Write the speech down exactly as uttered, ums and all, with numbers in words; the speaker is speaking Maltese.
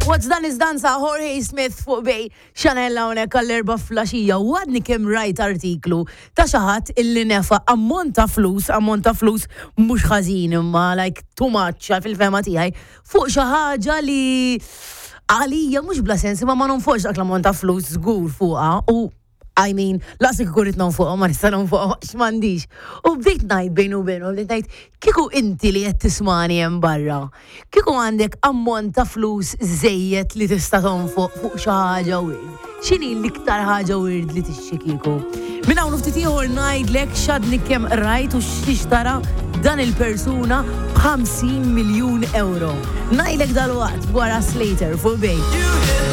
What's Done is Done sa' Jorge Smith fuq Bay Chanel hawnhekk għall-erbgħa filgħaxija u għadni kemm rajt artiklu ta' xi ħadd illi nefa ammont ta' flus, ammont ta' flus mhux ħażin imma like too much fil-fehma tiegħi fuq xi ħaġa li għalija mhux bla sens imma ma nonfoqx dak l-ammont ta' flus żgur fuqha u I mean, lanqas kieku rrid nonfoqha, ma nista' nonfoqha, għax m'għandix. U bdejt ngħid bejni u bejnu, bdejt ngħid, kieku inti li qed tismagħni hemm barra, kieku għandek ammont ta' flus żejjed li tista' tonfoq fuq xi ħaġa weird. X'inhi l-iktar ħaġa weird li tixtri kieku? Minn hawn ftit ieħor ngħidlek x'għadni kemm rajt u x'tara dan il-persuna b'ħamsin miljun euro. Ngħidlek dalwaqt wara Slater fuq Bay.